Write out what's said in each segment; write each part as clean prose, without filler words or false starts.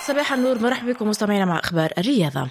صباح النور، مرحبا بكم مستمعينا مع أخبار الرياضة.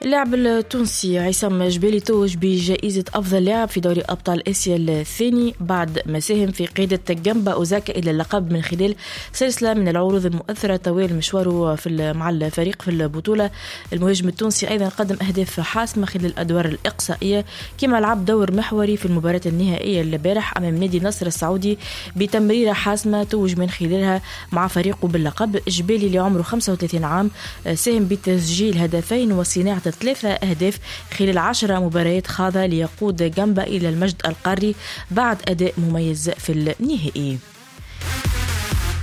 اللاعب التونسي عصام جبالي توج بجائزة أفضل لاعب في دوري أبطال آسيا الثاني بعد ما ساهم في قيادة جامبا أوزاكا إلى اللقب من خلال سلسلة من العروض المؤثرة طوال مشواره مع الفريق في البطولة. المهاجم التونسي أيضا قدم أهداف حاسمة خلال الأدوار الإقصائية، كما لعب دور محوري في المباراة النهائية البارح أمام نادي النصر السعودي بتمريرة حاسمة توج من خلالها مع فريقه باللقب. جبالي اللي عمره 35 عام ساهم بتسجيل هدفين وصناعة 3 أهداف خلال 10 مباريات خاضها ليقود جامبا إلى المجد القاري بعد أداء مميز في النهائي.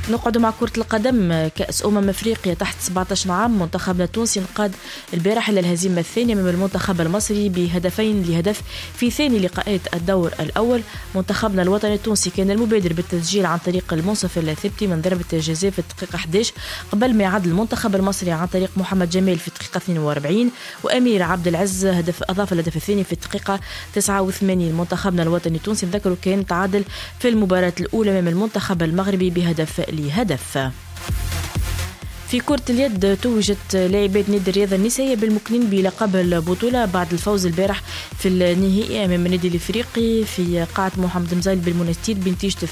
نقعد مع كرة القدم. كأس أفريقيا تحت 17 عام، منتخبنا التونسي انقاد البارح إلى الهزيمة الثانية من المنتخب المصري ب2-0 في ثاني لقاءات الدور الأول. منتخبنا الوطني التونسي كان المبادر بالتسجيل عن طريق المنصف الثبتي من ضربة جزاء في الدقيقة 11 قبل ما يعدل المنتخب المصري عن طريق محمد جمال في الدقيقة 42 وأمير عبد العز هدف أضاف الهدف الثاني في الدقيقة 89. منتخبنا الوطني التونسي نذكروا كان تعادل في المباراة الأولى أمام المنتخب المغربي ب1-0. في كرة اليد توجت لاعبات نادي الرياضة النسائية بالمكنين بلقب البطولة بعد الفوز البارح في النهائي أمام النادي الإفريقي في قاعة محمد مزايل بالمنستير بنتيجة 22-21،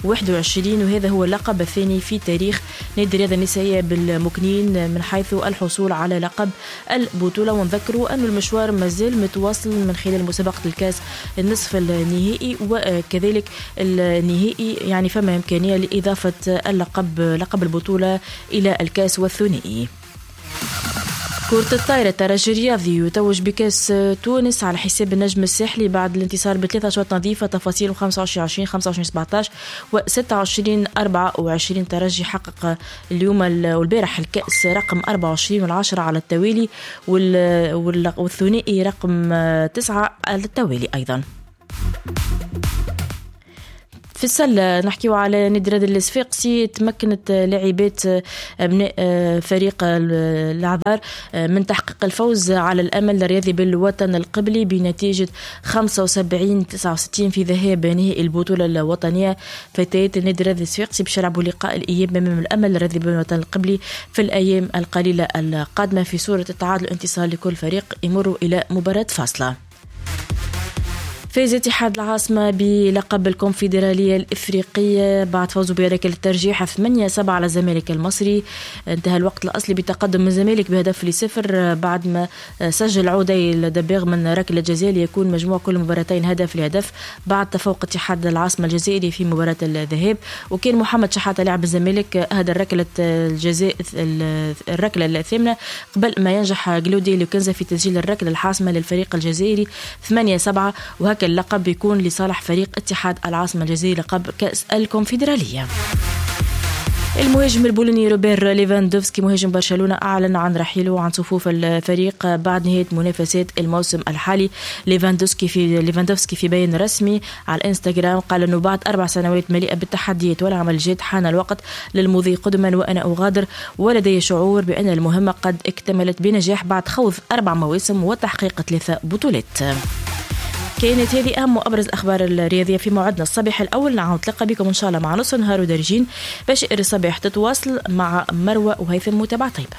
وهذا هو اللقب الثاني في تاريخ نادي الرياضة النسائية بالمكنين من حيث الحصول على لقب البطولة. ونذكروا أن المشوار مازال متواصل من خلال مسابقة الكاس النصف النهائي وكذلك النهائي، يعني فما إمكانية لإضافة اللقب لقب البطولة إلى الكاس والثنائي. كرة الطائرة، الترجي الرياضي يتوج بكاس تونس على حساب النجم الساحلي بعد الانتصار ب3 أشواط نظيفة تفاصيل 25-20 25-17 و 26-24. ترجي حقق اليوم والبارح الكأس رقم 24 و10 على التوالي والثنائي رقم 9 على التوالي أيضا. في السلة نحكيو على نادي الرياضي الصفاقسي، تمكنت لاعبات أبناء فريق العذار من تحقيق الفوز على الأمل الرياضي بالوطن القبلي بنتيجة 75-69 في ذهاب نهائي البطولة الوطنية. فتيات النادي الرياضي الصفاقسي باش يلعبوا لقاء الإياب أمام الأمل الرياضي بالوطن القبلي في الأيام القليلة القادمة في صورة التعادل انتصار لكل فريق يمر إلى مباراة فاصلة. فاز اتحاد العاصمة بلقب الكونفدرالية الإفريقية بعد فوزه بركلة الترجيح 8-7 على الزمالك المصري. انتهى الوقت الأصلي بتقدم الزمالك ب1-0 بعد ما سجل عودي الدباغ من ركلة جزاء ليكون مجموع كل مباراتين 1-0 بعد تفوق اتحاد العاصمة الجزائري في مباراة الذهاب. وكان محمد شحاتة لاعب الزمالك أهدى ركلة الجزاء الركلة الثامنة قبل ما ينجح جلودي لوكنزا في تسجيل الركلة الحاسمة للفريق الجزائري 8-7، وهكذا اللقب يكون لصالح فريق اتحاد العاصمة الجزائري لقب كأس الكونفدرالية. المهاجم البولوني روبير ليفاندوفسكي مهاجم برشلونة أعلن عن رحيله عن صفوف الفريق بعد نهاية منافسات الموسم الحالي. ليفاندوفسكي في بيان رسمي على الانستغرام قال أنه بعد 4 سنوات مليئة بالتحديات والعمل الجاد حان الوقت للمضي قدما وأنا أغادر، ولدي شعور بأن المهمة قد اكتملت بنجاح بعد خوض 4 مواسم وتحقيق 3 بطولات. كانت هذه أهم وأبرز الأخبار الرياضية في موعدنا الصباح الأول. نعاود نتلقى بكم إن شاء الله مع نص نهار ودارجين باش الصباح تتواصل مع مروة وهيثم. متابعة طيبة.